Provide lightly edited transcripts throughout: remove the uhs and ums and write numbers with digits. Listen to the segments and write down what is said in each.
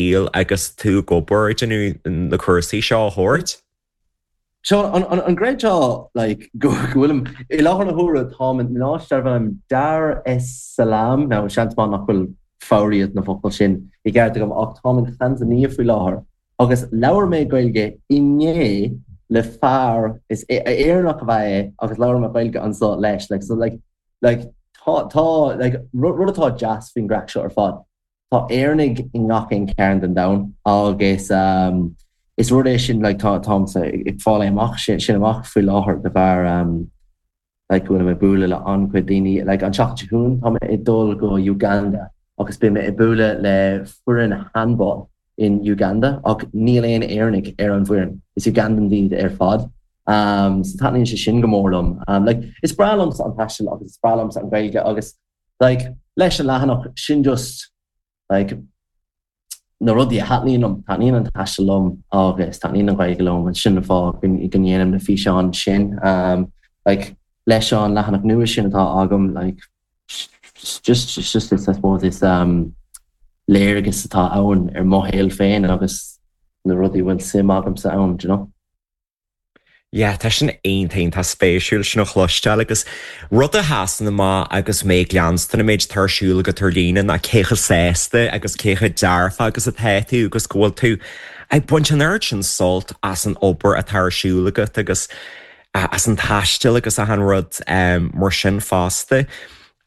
Shaol agus tú ag obair ag déanamh na cúrsaí seo a thabhairt? Seán, an gcreidfeá like go bhfuilim, i láthair na huaire táim in áit darb ainm Dar es Salaam, now seans maith nach bhfuil foghraíocht na bhfocal sin i gceart agam ach táim in Tanzania faoi láthair agus labhair mé Gaeilge inné le fear, is Éireannach ab ea é agus labhair mé Gaeilge anso leis like so like like tá tá like rud atá deas faoin gcraic seo ar fad Tá Éireannaigh i ngach aon chearn den domhan agus is rud é sin like tá táimse ag fáil é amach sin sin amach faoi láthair de bharr like go bhfuilim ag bualadh le an-chuid daoine like an tseachtain seo chugainn tá mé ag dul go Uganda agus beidh mé ag bualadh le foireann handball in Uganda ach níl aon Éireannaigh ar an bhfoireann is Ugandan iad ar fad um so taitníonn sé sin go mór liom um like is breá liomsa an taisteal agus is breá liomsa an Ghaeilge agus Like, leis an leathanach sin just, like, na rudaí a thaitníonn liom, taitníonn an taisteal liom agus taitníonn an Ghaeilge liom and sin an fáth go ndéanaim na físeáin sin. Um, like, leis an leathanach nua sin atá agam, like, just, just, just I suppose is um, léargas atá ann ar mo shaol féin agus na rudaí a bhfuil suim agamsa ann, do you know? Yeah, tá sin iontach, iontach spéisiúil sin a chloisteáil agus rud a sheasann amach agus mé ag leanstan an méid atá ar siúl agat ar líne ná cé chomh sásta agus cé chomh dearfach agus atá tú agus go bhfuil tú ag baint an oiread sin sult as an obair atá ar siúl agat agus as an taisteal agus achan rud mar sin fosta.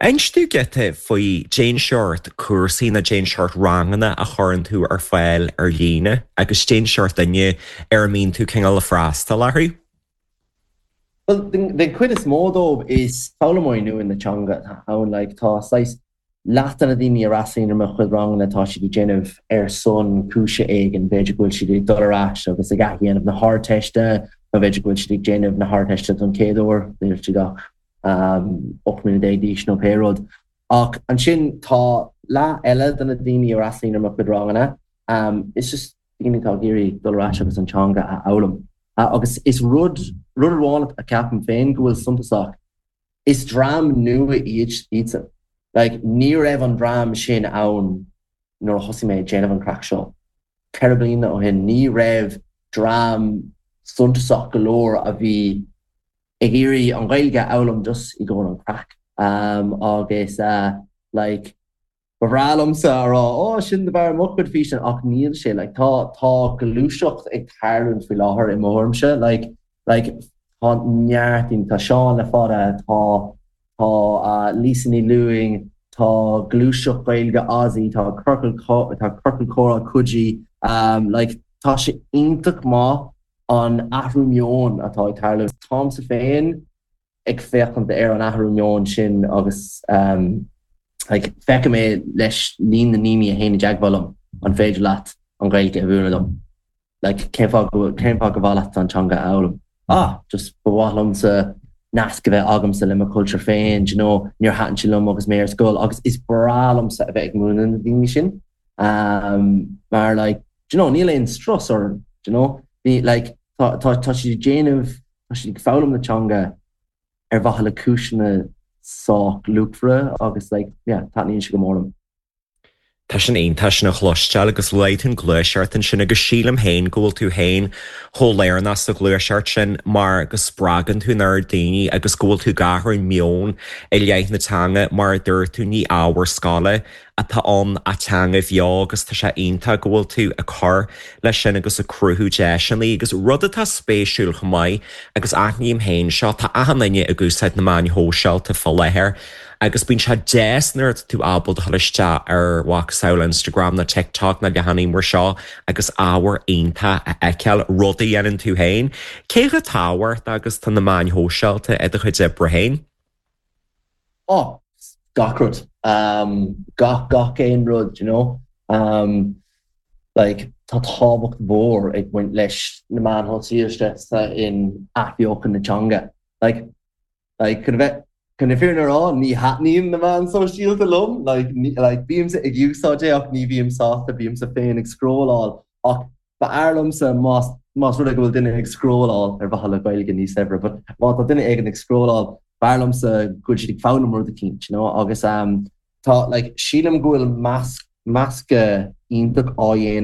Inis domh giota faoi cén seort cúrsaí nó cén seort ranganna a chuireann tú ar fáil ar líne agus cén seort duine ar a mbíonn tú cineál ag freastal orthu. Bhuel, den chuid is mó dóibh is foghlaimeoirí nua na teanga atá ann. Like, tá saghas leath de na daoine a fhreastalaíonn ar mo chuid ranganna, tá siad ag déanamh ar son cúise éigin, b'fhéidir go bhfuil siad ag dul ar ais agus ag athdhéanamh na hArdteiste nó b'fhéidir go bhfuil siad ag déanamh na hArdteiste don chéad uair, níl siad ach 18 mbliana d'aois nó pé rud. Ach ansin tá leath eile de na daoine a fhreastalaíonn ar mo chuid ranganna, is just daoine atá ag iarraidh dul ar ais agus an teanga a fhoghlaim. Agus is rud, rud amháin a ceapaim féin go bhfuil suntasach, is dream nua iad iadsan. Like, ní raibh an dream sin ann nuair a thosaigh mé ag déanamh an craic seo. 4 bliana ó shin, ní raibh dream suntasach go leor a bhí ag iarraidh an Ghaeilge a fhoghlaim just i gcomhair an craic agus like ba bhreá liomsa a rá oh sin de bharr mo chuid físeán ach níl sé like tá tá gluaiseacht ag tarlúint faoi láthair i mo thuairimse like like tá neart daoine tá Seán le fada tá tá Lisa Ní Lúing tá gluaiseacht Gaeilge Aussie tá Ciorcal tá Ciorcal Comhrá Coogee like tá sé iontach maith an athrú meoin atá ag tarlú. Táimse féin ag féachaint ar an athrú meoin sin agus like feicim é leis líon na ndaoine a théann i dteagmháil liom, an féidir leat an Ghaeilge a mhúineadh dom? Like cén fáth go cén fáth gur mhaith leat an teanga a fhoghlaim? Ah, just ba mhaith liomsa nasc a bheith agamsa le mo chultúr féin, do you know, níor thaitin sé liom agus mé ar scoil agus is breá liomsa a bheith ag múineadh na daoine sin mar like do you know, níl aon strus orthu, do you know, ní, like, tá, tá, tá siad ag déanamh, tá siad ag foghlaim na teanga ar mhaithe le cúiseanna sách luachmhara agus, like, yeah, taitníonn sé go mór liom. Tá sin iontach sin a chloisteáil agus luaigh tú an ghluaiseacht ansin agus sílim féin go bhfuil tú féin chomh lárnach sa ghluaiseacht sin mar go spreagann tú an oiread daoine agus go bhfuil tú ag athrú an meon i leith na teanga mar a dúirt tú ní ábhar scoile atá ann ach teanga bheo agus tá sé iontach go bhfuil tú ag cur leis sin agus ag cruthú deiseanna agus rud atá spéisiúil chomh maith agus aithním féin seo, tá achan duine ag úsáid na meáin shóisialta fá láthair agus bíonn sé deas nuair atá tú ábalta dul isteach ar mhacasamhail Instagram nó TikTok nó leathanaigh mar seo agus ábhar iontach a fheiceáil, rud a dhéanann tú féin. Cé chomh tábhachtach agus atá na meáin shóisialta i do chuid oibre féin? Oh, gach rud. Um, gach, gach aon rud, you know. Um, like, tá tábhacht mhór ag baint leis na meáin shóisialta in athbheochan na teanga. Like, like, chun a bheith, chun na fírinne a rá, ní thaitníonn na meáin shóisialta liom, like, ní, like, bímse ag úsáid é ach ní bhím sásta, bímse féin ag scrolláil ach B'fhearr liomsa más más rud é go bhfuil duine ag scrolláil ar mhaithe le Gaeilge níos saibhre, but má tá duine éigin ag scrolláil, b'fhearr liomsa go bhfuil siad ag foghlaim rud eicínt, you know, agus tá, like, sílim go bhfuil measc meascadh iontach á dhéanamh.